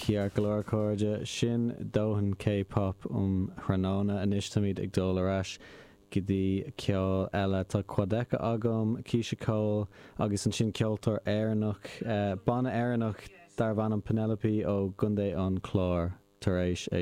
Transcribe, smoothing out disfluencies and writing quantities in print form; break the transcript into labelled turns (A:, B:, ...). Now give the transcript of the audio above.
A: Ceart go leor, a chairde, sin dóthain K-pop um thráthnóna. Anois táimid ag dul ar ais go dtí ceol eile. Tá Quadeca agam, Keyshia Cole agus ansin ceoltóir Éireannach, banna Éireannach darbh ainm Penelope ó gContae an Chláir tar éis é.